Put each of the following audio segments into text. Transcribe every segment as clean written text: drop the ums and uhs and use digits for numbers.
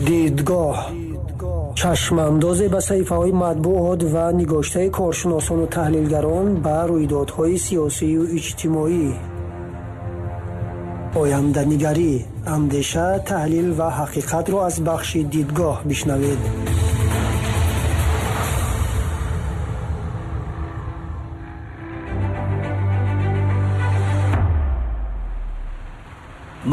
Дидгоҳ чашмандозе ба саҳифаҳои матбуот ва нигоштаи коршиносону таҳлилгарон ба рӯйдодҳои сиёсию иҷтимоӣ. Оянданигарӣ, андеша, таҳлил ва ҳақиқатро аз бахши дидгоҳ бишнавед.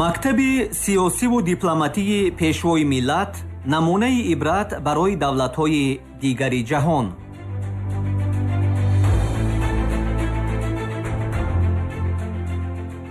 Мактаби сиёсиву дипломатии Пешвои миллат намунаи ибрат барои давлатҳои дигари ҷаҳон.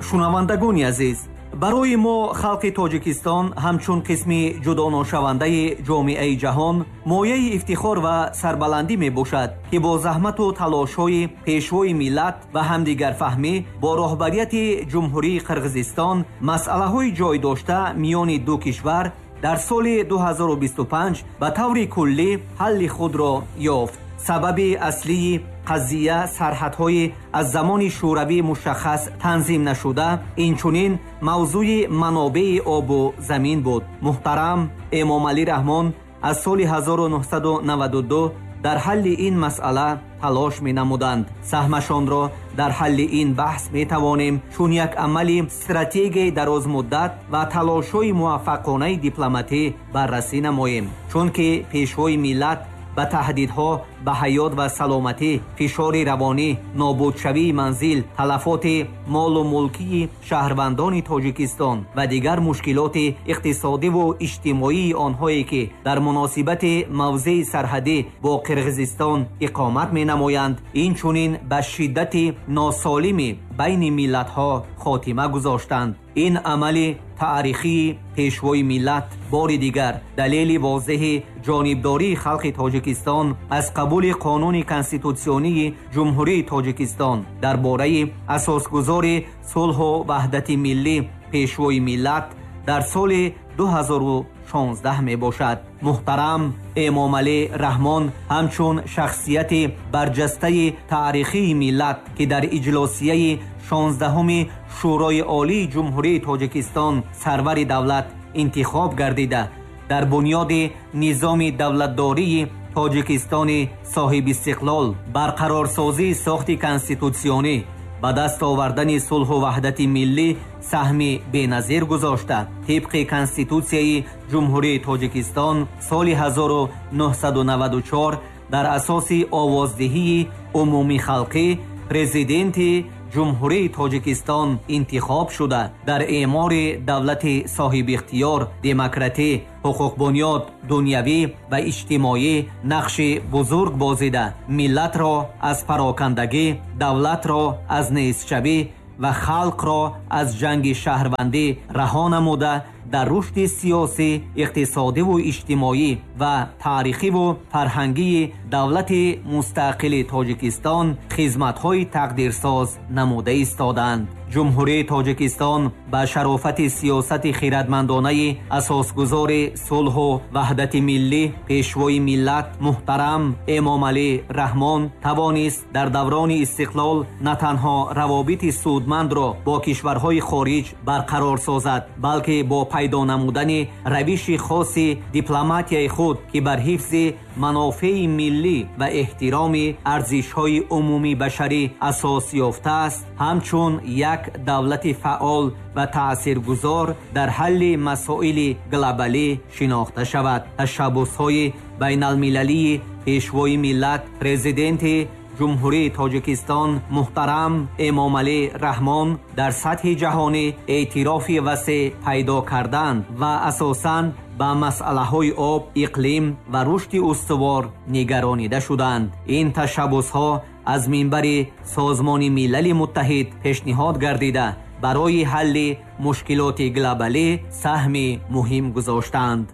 Шунавандагони азиз, барои мо халқи Тоҷикистон ҳамчун қисми ҷудоношавандаи ҷомеаи ҷаҳон мояи ифтихор ва сарбаландӣ мебошад, ки бо заҳмату талошҳои Пешвои миллат ва ҳамдигарфаҳмӣ бо роҳбарияти Ҷумҳурии Қирғизистон масъалаҳои ҷой дошта миёни ду кишвар дар соли 2025 ба таври куллӣ ҳалли худро ёфт. Сабаби аслии қазия сарҳадҳои аз замони шӯравӣ мушаххас танзим нашуда, инчунин мавзӯи манобеи обу замин буд. Муҳтарам Эмомалӣ Раҳмон аз соли 1992 дар ҳалли ин масъала талош менамуданд. Саҳмашонро дар ҳалли ин баҳс метавонем чун як амали стратегияи дарозмуддат ва талошҳои муваффақонаи дипломатӣ баррасӣ намоем, чунки Пешвои миллат ба таҳдидҳо ба ҳаёт ва саломатӣ, фишори равонӣ, нобудшавии манзил, талафоти молу мулкии шаҳрвандони Тоҷикистон ва дигар мушкилоти иқтисодиву иҷтимоии онҳое, ки дар муносибати мавзеи сарҳадӣ бо Қирғизистон иқомат менамоянд, инчунин ба шиддати носолими байни миллатҳо хотима гузоштанд. Ин амали таърихии Пешвои миллат бори дигар далели возеҳи ҷонибдории халқи Тоҷикистон аз қабули қонуни конститутсионии Ҷумҳурии Тоҷикистон дар бораи асосгузори сулҳу ваҳдати миллӣ Пешвои миллат дар соли 2016 мебошад. Муҳтарам Эмомалӣ Раҳмон ҳамчун шахсияти барҷастаи таърихии миллат, ки дар иҷлосияи 16-уми Шӯрои Олии Ҷумҳурии Тоҷикистон сарвари давлат интихоб гардида, дар бунёди низоми давлатдории Тоҷикистони соҳибистиқлол, барқарорсозии сохти конститутсионӣ, ба даст овардани сулҳу ваҳдати миллӣ саҳми беназир гузошта, тибқи Конститутсияи Ҷумҳурии Тоҷикистон соли 1994 дар асоси овоздиҳии умумихалқӣ Президенти Ҷумҳурии Тоҷикистон интихоб шуда, дар эъмори давлати соҳибихтиёр, демократӣ, ҳуқуқбунёд, дунявӣ ва иҷтимоӣ нақши бузург бозида, миллатро аз парокандагӣ, давлатро аз нестшавӣ ва халқро аз ҷанги шаҳрвандӣ раҳо намуда, дар рушди сиёсӣ, иқтисодиву иҷтимоӣ ва таърихиву фарҳангии давлати мустақили Тоҷикистон хизматҳои тақдирсоз намуда истоданд. Ҷумҳурии Тоҷикистон ба шарофати сиёсати хирадмандонаи асосгузори сулҳу ваҳдати миллӣ Пешвои миллат муҳтарам Эмомалӣ Раҳмон тавонист дар даврони истиқлол на танҳо равобити судмандро бо кишварҳои хориҷ барқарор созад, балки бо пайдо намудани равиши хоси дипломатияи худ, ки бар ҳифзи манофеи миллӣ ва эҳтироми арзишҳои умумибашарӣ асос ёфтааст, ҳамчун як давлати фаъол ва таъсиргузор дар ҳалли масоили глобалӣ шинохта шавад. Ташаббусҳои байналмилалии Пешвои миллат, Президенти Ҷумҳурии Тоҷикистон муҳтарам Эмомалӣ Раҳмон дар сатҳи ҷаҳонӣ эътирофи васеъ пайдо карданд ва асосан ба масъалаҳои об, иқлим ва рушди устувор нигаронида шуданд. Ин ташаббусҳо аз минбари Созмони Милали Муттаҳид пешниҳод гардида, барои ҳалли мушкилоти глобалӣ саҳми муҳим гузоштанд.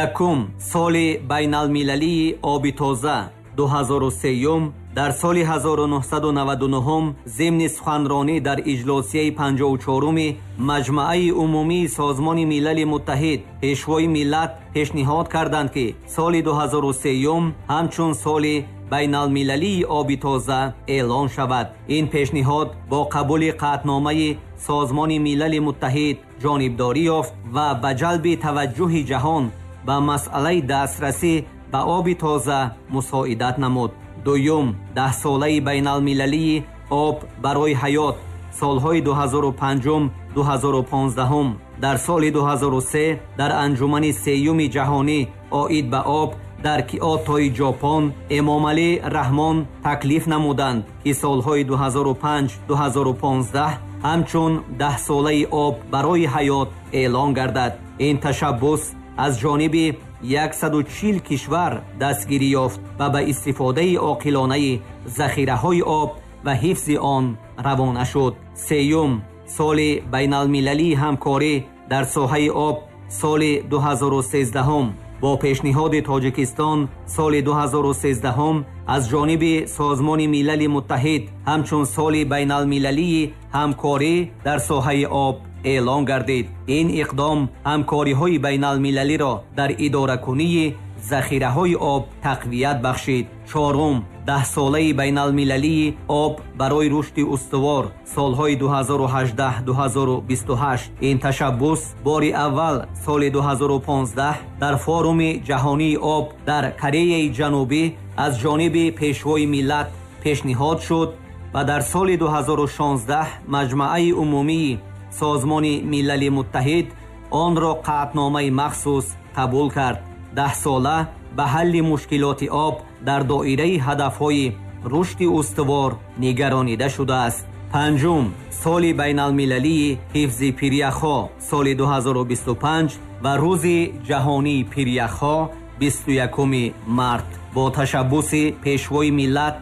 Якум, соли байналмилалии оби тоза 2003 дар соли 1999 зимни суханронӣ дар иҷлосияи 54-уми Маҷмааи умумии Созмони Милали Муттаҳид Пешвои миллат пешниҳод карданд, ки соли 2003 ҳамчун соли байналмилалии оби тоза эълон шавад. Ин пешниҳод бо қабули қатъномаи Созмони Милали Муттаҳид ҷонибдорӣ ёфт ва ба ҷалби таваҷҷӯҳи ҷаҳон ба масъалаи дастрасӣ ба оби тоза мусоидат намуд. Дуюм, даҳсолаи байналмилалии об барои ҳаёт солҳои 2005-2015. Дар соли 2003 дар анҷумани сеюми ҷаҳонӣ оид ба об дар Киотои Ҷопон Эмомалӣ Раҳмон таклиф намуданд, ки солҳои 2005-2015 ҳамчун даҳсолаи об барои ҳаёт эълон гардад. Ин ташаббус аз ҷониби 140 кишвар дастгирӣ ёфт ва ба истифодаи оқилонаи захираҳои об ва ҳифзи он равона шуд. Сеюм, соли байналмилалии ҳамкорӣ дар соҳаи об соли 2013. Бо пешниҳоди Тоҷикистон соли 2013 аз ҷониби Созмони Милали Муттаҳид ҳамчун соли байналмилалии ҳамкорӣ дар соҳаи об эълон гардид. Ин иқдом ҳамкориҳои байналмилалиро дар идоракунии захираҳои об тақвият бахшид. Чорум, даҳсолаи байналмилалии об барои рушди устувор солҳои 2018-2028. Ин ташаббус бори аввал соли 2015 дар форуми ҷаҳонии об дар Кореяи Ҷанубӣ аз ҷониби Пешвои миллат пешниҳод шуд ва дар соли 2016 Маҷмааи умумии Созмони Милали Муттаҳид онро қатъномаи махсус қабул кард. Даҳсола ба ҳалли мушкилоти об дар доираи ҳадафҳои рушди устувор нигаронида шудааст. Панҷум, соли байналмилалии ҳифзи пиряхҳо соли 2025 ва рӯзи ҷаҳонии пиряхҳо 21 март. Бо ташаббуси Пешвои миллат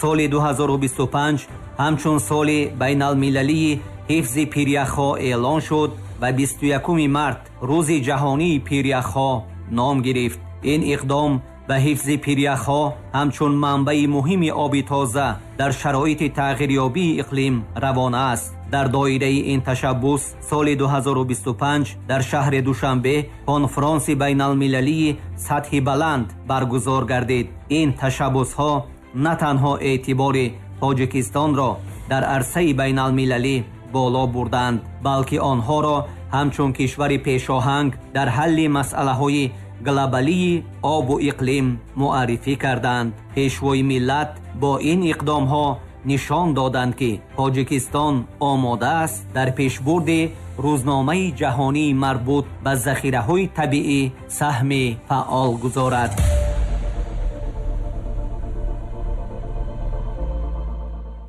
соли 2025 ҳамчун соли байналмилалии ҳифзи пиряхҳо эълон шуд ва 21 март рӯзи ҷаҳонии пиряхҳо ном гирифт. Ин иқдом ба ҳифзи пиряхҳо ҳамчун манбаи муҳими оби тоза дар шароити тағйирёбии иқлим равона аст. Дар доираи ин ташаббус соли 2025 дар шаҳри Душанбе конфронси байналмилалии сатҳи баланд баргузор гардид. Ин ташаббусҳо на танҳо эътибори Тоҷикистонро дар арсаи байналмилалӣ боло бурданд, балки онҳоро ҳамчун кишвари пешоҳанг дар ҳалли масъалаҳои глобалии обу иқлим муаррифӣ карданд. Пешвои миллат бо ин иқдомҳо нишон доданд, ки Тоҷикистон омода аст дар пешбурди рӯзномаи ҷаҳонии марбут ба захираҳои табиӣ саҳми фаъол гузорад.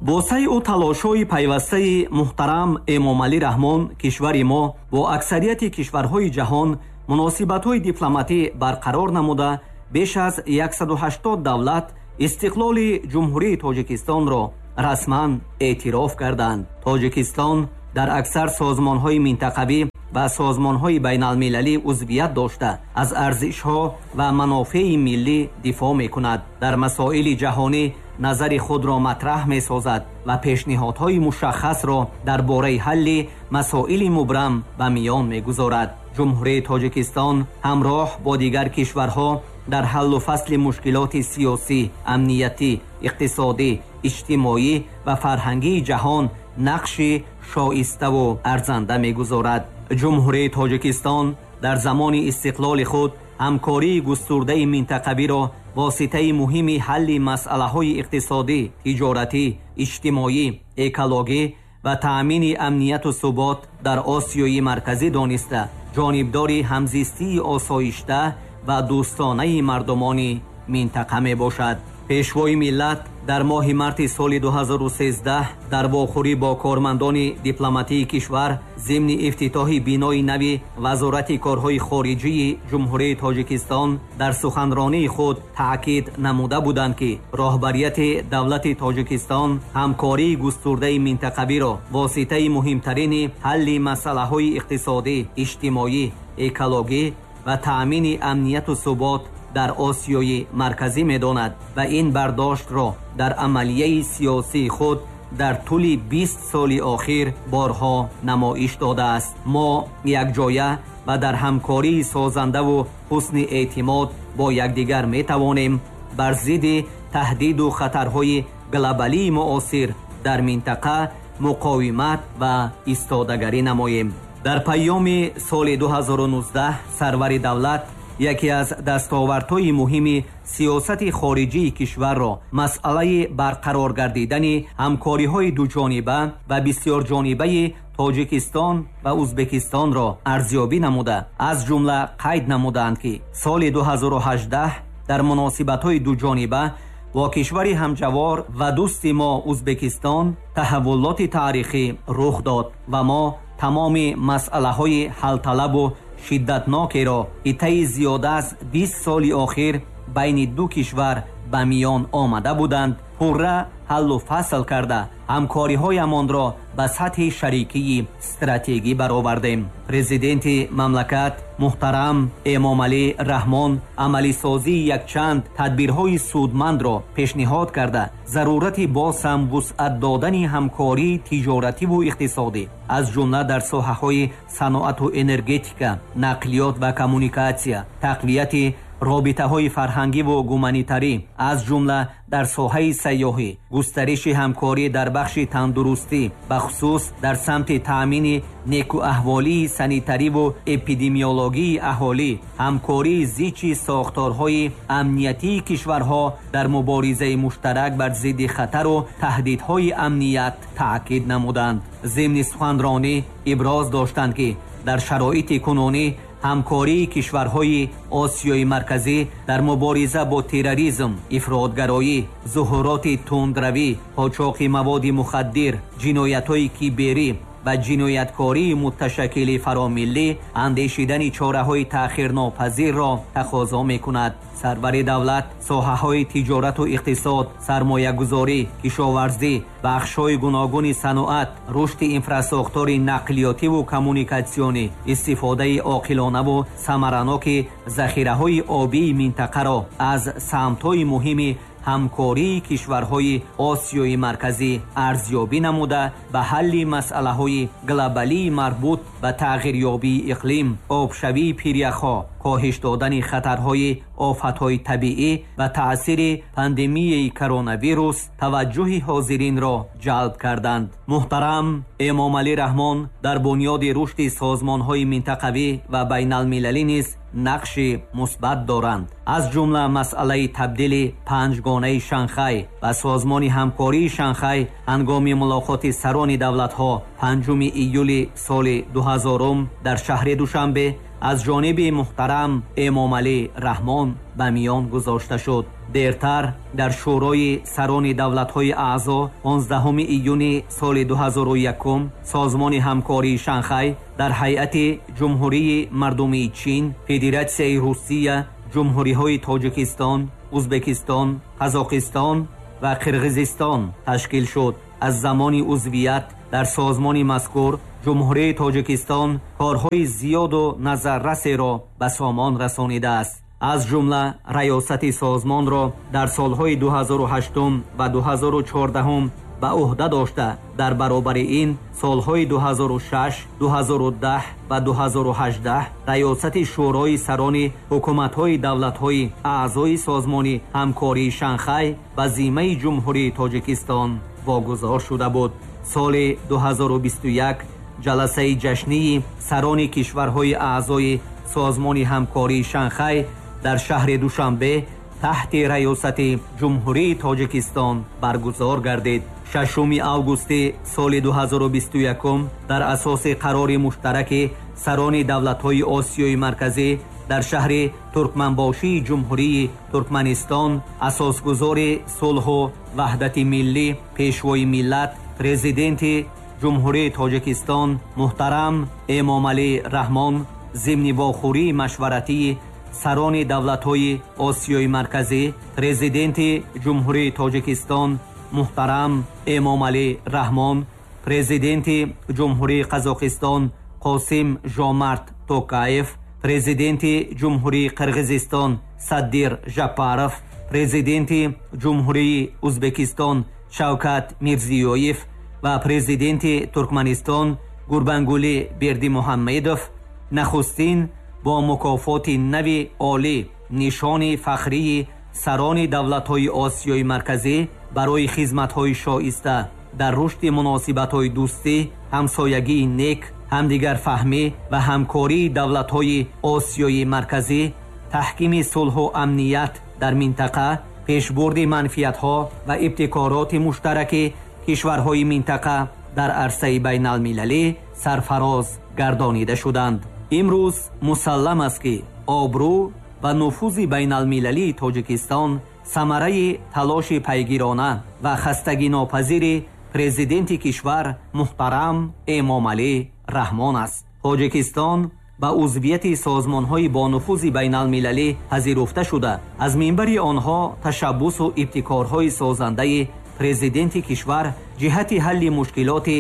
Бо сайъу талошҳои пайвастаи муҳтарам Эмомалӣ Раҳмон кишвари мо бо аксарияти кишварҳои ҷаҳон муносибатҳои дипломатӣ барқарор намуда, беш аз 180 давлат истиқлоли Ҷумҳурии Тоҷикистонро расман эътироф карданд. Тоҷикистон дар аксар созмонҳои минтақавӣ ва созмонҳои байналмилалӣ узвият дошта, аз арзишҳо ва манофеи миллӣ дифоъ мекунад, дар масоили ҷаҳонӣ назари худро матраҳ месозад ва пешниҳодҳои мушаххасро дар бораи ҳалли масоили мубрам ба миён мегузорад. Ҷумҳурии Тоҷикистон ҳамроҳ бо дигар кишварҳо дар ҳаллу фасли мушкилоти сиёсӣ, амниятӣ, иқтисодӣ, иҷтимоӣ ва фарҳангии ҷаҳон нақши шоиставу арзанда мегузорад. Ҷумҳурии Тоҷикистон дар замони истиқлоли худ ҳамкории густурдаи минтақавиро воситаи муҳими ҳалли масъалаҳои иқтисодӣ, тиҷоратӣ, иҷтимоӣ, экологӣ ва таъмини амнияту субот дар Осиёи Марказӣ дониста, ҷонибдори ҳамзистии осоишта ва дӯстонаи мардумони минтақа мебошад. Пешвои миллат дар моҳи марти соли 2013 дар вохӯрӣ бо кормандони дипломатии кишвар зимни ифтитоҳи бинои нави Вазорати корҳои хориҷии Ҷумҳурии Тоҷикистон дар суханронии худ таъкид намуда буданд, ки роҳбарияти давлати Тоҷикистон ҳамкории густурдаи минтақавиро воситаи муҳимтарини ҳалли масъалаҳои иқтисодӣ, иҷтимоӣ, экологӣ ва таъмини амнияту субот дар Осиёи Марказӣ медонад ва ин бардоштро дар амалияи сиёсии худ дар тӯли 20 соли охир борҳо намоиш додааст. Мо якҷоя ва дар ҳамкории созандаву ҳусни эътимод бо якдигар метавонем бар зидди таҳдиду хатарҳои глобалии муосир дар минтақа муқовимат ва истодагарӣ намоем. Дар паёми соли 2019 сарвари давлат Яке аз дастовардҳои муҳими сиёсати хориҷии кишварро масъалаи барқарор гардидани ҳамкориҳои дуҷониба ва бисёрҷонибаи Тоҷикистон ва Узбекистонро арзёбӣ намуда, аз ҷумла қайд намуданд, ки соли 2018 дар муносибатҳои дуҷониба бо кишвари ҳамҷавор ва дӯсти мо Узбекистон таҳаввулоти таърихӣ рух дод ва мо тамоми масъалаҳои ҳалталабу шиддатнокеро, ки таи зиёда аз 20 соли охир байни ду кишвар ба миён омада буданд, пурра ҳаллу фасл карда, ҳамкориҳоямонро ба сатҳи шарикии стратегӣ баровардем. Президенти мамлакат муҳтарам Эмомалӣ Раҳмон амалисозии якчанд тадбирҳои судмандро пешниҳод карда, зарурати боз ҳам вусъат додани ҳамкории тиҷоративу иқтисодӣ, аз ҷумла дар соҳаҳои саноату энергетика, нақлиёт ва коммуникатсия, тақвияти робитаҳои фарҳангиву гуманитарӣ, аз ҷумла дар соҳаи сайёҳӣ, густариши ҳамкорӣ дар бахши тандурустӣ, бахусус дар самти таъмини некӯаҳволии санитариву эпидемиологии аҳолӣ, ҳамкории зичи сохторҳои амниятии кишварҳо дар муборизаи муштарак бар зидди хатару таҳдидҳои амният таъкид намуданд. Зимни суханронӣ иброз доштанд, ки дар шароити кунунӣ ҳамкории кишварҳои Осиёи Марказӣ дар мубориза бо терроризм, ифротгароӣ, зуҳуроти тундравӣ, қочоқи маводи мухаддир, ҷиноятҳои киберӣ ва ҷинояткории муташаккили фаромиллӣ андешидани чораҳои таъхирнопазирро тақозо мекунад. Сарвари давлат соҳаҳои тиҷорату иқтисод, сармоягузорӣ, кишоварзӣ, бахшҳои гуногуни саноат, рушди инфрасохтори нақлиётиву коммуникатсионӣ, истифодаи оқилонаву самараноки захираҳои обии минтақаро аз самтҳои муҳими ҳамкории кишварҳои Осиёи Марказӣ арзёбӣ намуда, ба ҳалли масъалаҳои глобалии марбут ба тағйирёбии иқлим, обшавии пиряхҳо, коҳиш додани хатарҳои офатҳои табиӣ ва таъсири пандемияи коронавирус таваҷҷӯҳи ҳозиринро ҷалб карданд. Муҳтарам Эмомалӣ Раҳмон дар бунёди рушди созмонҳои минтақавӣ ва байналмилалӣ низ нақши мусбат доранд. Аз ҷумла масъалаи табдили панҷгонаи Шанхай ва Созмони ҳамкории Шанхай ҳангоми мулоқоти сарони давлатҳо 5 июли соли 2000 дар шаҳри Душанбе аз ҷониби муҳтарам Эмомалӣ Раҳмон ба миён гузошта шуд. Дертар дар Шӯрои сарони давлатҳои аъзо 15 июни соли 2001 Созмони ҳамкории Шанхай дар ҳайати Ҷумҳурии Мардумии Чин, Федератсияи Русия, Ҷумҳуриҳои Тоҷикистон, Узбекистон, Қазоқистон ва Қирғизистон ташкил шуд. Аз замони узвият дар созмони мазкур Ҷумҳурии Тоҷикистон корҳои зиёду назаррасеро ба сомон расонидааст. Аз ҷумла раёсати созмонро дар солҳои 2008 ва 2014 ба ӯҳда дошта, дар баробари ин солҳои 2006, 2010 ва 2018 раёсати Шӯрои сарони ҳукуматҳои давлатҳои аъзои Созмони ҳамкории Шанхай ба зиммаи Ҷумҳурии Тоҷикистон вогузор шуда буд. Соли 2021 ҷаласаи ҷашнии сарони кишварҳои аъзои Созмони ҳамкории Шанхай дар шаҳри Душанбе таҳти раёсати Ҷумҳурии Тоҷикистон баргузор гардид. 6 августи соли 2021 дар асоси қарори муштараки сарони давлатҳои Осиёи Марказӣ дар шаҳри Туркманбошии Ҷумҳурии Туркманистон асосгузори сулҳу ваҳдати миллӣ, пешвои миллат, президенти Ҷумҳурии Тоҷикистон муҳтарам Эмомалӣ Раҳмон зимни вохӯрии машваратии сарони давлатҳои Осиёи Марказӣ, президенти Ҷумҳурии Тоҷикистон муҳтарам Эмомалӣ Раҳмон, президенти Ҷумҳурии Қазоқистон Қосим Жомарт Токаев, президенти Ҷумҳурии Қирғизистон Садир Жапаров, президенти Ҷумҳурии Узбекистон Шавкат Мирзиёев ва президенти Туркманистон Гурбангулӣ Бердимуҳаммедов нахустин бо мукофоти нави олӣ нишони фахрии сарони давлатҳои Осиёи Марказӣ барои хизматҳои шоиста дар рушди муносибатҳои дӯстӣ, ҳамсоягии нек, ҳамдигарфаҳмӣ ва ҳамкории давлатҳои Осиёи Марказӣ таҳкими сулҳу амният дар минтақа, пешбурди манфиатҳо ва ибтикороти муштараки кишварҳои минтақа дар арсаи байналмилалӣ сарфароз гардонида шуданд. Имрӯз мусаллам аст, ки обрӯ ва нуфузи байналмилалии Тоҷикистон самараи талоши пайгирона ва хастагинопазири президенти кишвар муҳтарам Эмомалӣ Раҳмон аст. Тоҷикистон ба узвияти созмонҳои бонуфузи байналмилалӣ пазируфта шуда, аз минбари онҳо ташаббусу ибтикорҳои созандаи президенти кишвар ҷиҳати ҳалли мушкилоти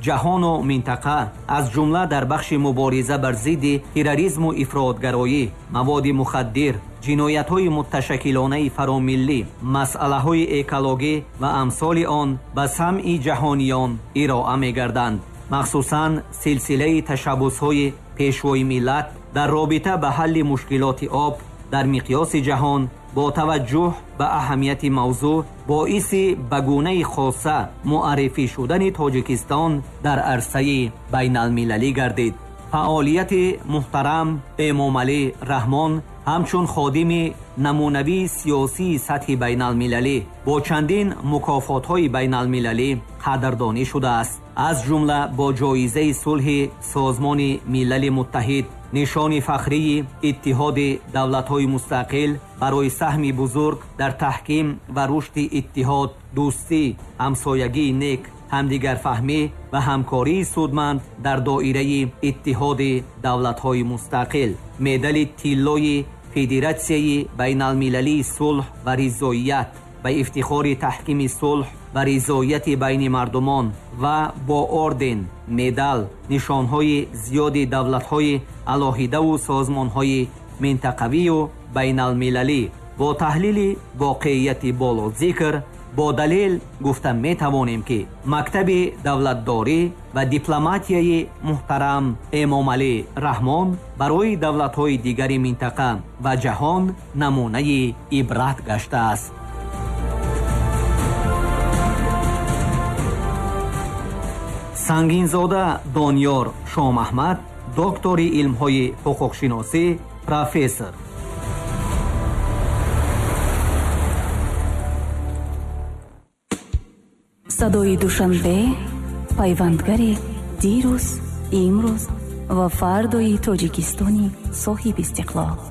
ҷаҳону минтақа, аз ҷумла дар бахши мубориза бар зидди терроризму ифротгароӣ, маводи мухаддир, ҷиноятҳои мутташаккилонаи фаромиллӣ, масъалаҳои экологӣ ва амсоли он ба самъи ҷаҳониён ироа мегарданд. Махсусан силсилаи ташаббусҳои пешвои миллат дар робита ба ҳалли мушкилоти об дар миқёси ҷаҳон бо таваҷҷӯҳ ба аҳамияти мавзӯъ боиси ба гунаи хоса муаррифӣ шудани Тоҷикистон дар арсаи байналмилалӣ гардид. Фаъолияти муҳтарам Эмомалӣ Раҳмон ҳамчун ходими намунавии сиёсии сатҳи байналмилалӣ бо чандин мукофотҳои байналмилалӣ қадрдонӣ шудааст, аз ҷумла бо ҷоизаи сулҳи Созмони Милали Муттаҳид, нишони фахрии Иттиҳоди Давлатҳои Мустақил барои саҳми бузург дар таҳким ва рушди иттиҳод, дӯстӣ, ҳамсоягии нек, ҳамдигарфаҳмӣ ва ҳамкории судманд дар доираи Иттиҳоди Давлатҳои Мустақил, медали тиллои Федератсияи байналмилалии сулҳ ва ризоият ба ифтихори таҳкими сулҳ ва ризоияти байни мардумон ва бо орден, медал, нишонҳои зиёди давлатҳои алоҳидаву созмонҳои минтақавию байналмилалӣ. Бо таҳлили воқеияти болозикр бо далел гуфта метавонем, ки мактаби давлатдорӣ ва дипломатияи муҳтарам Эмомалӣ Раҳмон барои давлатҳои дигари минтақа ва ҷаҳон намунаи ибрат гаштааст. Сангинзода Дониёр Шомаҳмад, доктори илмҳои ҳуқуқшиносӣ, профессор. Садои Душанбе, пайвандгари дирӯз, имрӯз ва фардои Тоҷикистони соҳиби истиқлол.